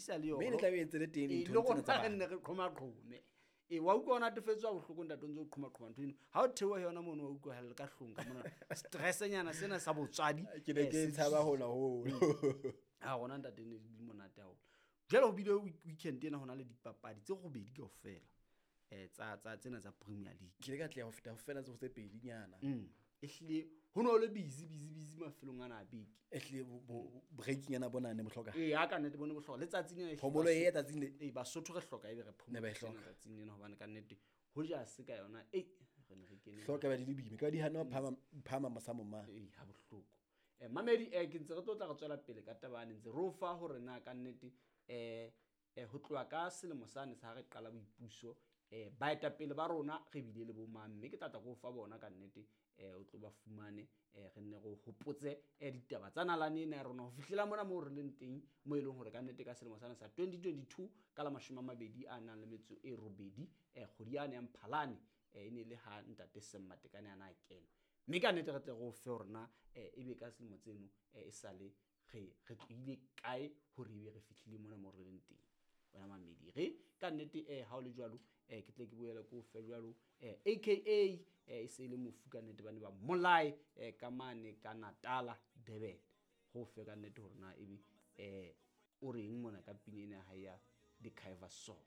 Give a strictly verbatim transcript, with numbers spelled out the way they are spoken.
sa le Mme ne tla be e ntse le teng Ee, dintho le tsena tsa rona re bana. nne re qhomaqhome. Ee, wa utlwa o natefetswe ha bohloko ntate o ntse o qhomaqhoma ntho eno. Ha o theoha yona mono wa utlwa hella ka hlong ka mona. Stress-nyana sena sa botswadi. Ke ne eh, ke se tshaba hona hoo. Ha rona ntate ne di monate haholo. Jwale ho bile week- weekend ena hona le dipapadi tse robedi kaofela. Eh tsa tsa tsena tsa Premier League. Ke ile ka tleha ho feta ho fela tse tse pedinyana. Mm. Ehlile ho no le busy busy busy mafelong ana a beke. Ehlile bo- bo- breaking yana bona ne bohloka. Ee, ha ka nnete bone bohlokwa. Letsatsing lena ehlile Phomolo Basotho- e tsatsing le. Ee, Basotho re hloka ebe re Ne ba e phomotse hloka. letsatsing lena hobane ka nnete ho ja se ka yona ei re ne re kene Hloka ba di le boima. Ka di hana ho phama phama mosamo ma. Ee, ha bohloko. Eh mamedi eh ke ntse re tlo tla re tswela pele ka taba ane ntse re o fa hore na ka nnete eh eh ho tloha ka selemo sane sa ha re qala boipuso eh baetapele ba rona re bile le bo mang, mme ke tla tla ke o fa bona ka nnete eh o tlo ba fumane eh re nne re o hopotse eh ditaba tsa nalane ena ya rona ho fihlela mona moo re leng teng, mo e leng hore ka nnete ka selemo sane sa twenty twenty-two ka la mashome a mabedi a nang le metso e robedi eh kgwedi yane ya Mphalane eh e ne le ha ntate Sam Matekane a na a kena. Mme ka nnete re tle re o fe hore na eh ebe ka selemo tseno eh e sale re re tlohile kae hore ebe re fihlile mona moo re leng teng. Wena mamedi re ka nnete eh ha o le jwalo eh ke tle ke boele ke o fe jwalo eh A K A eh e se e le mofu ka nnete ba ne ba mmolaye eh ka mane ka Natala Durban. Ho fe ka nnete hore na ebe eh o reng mona ka pina ena ya hae ya The Kaiva Song.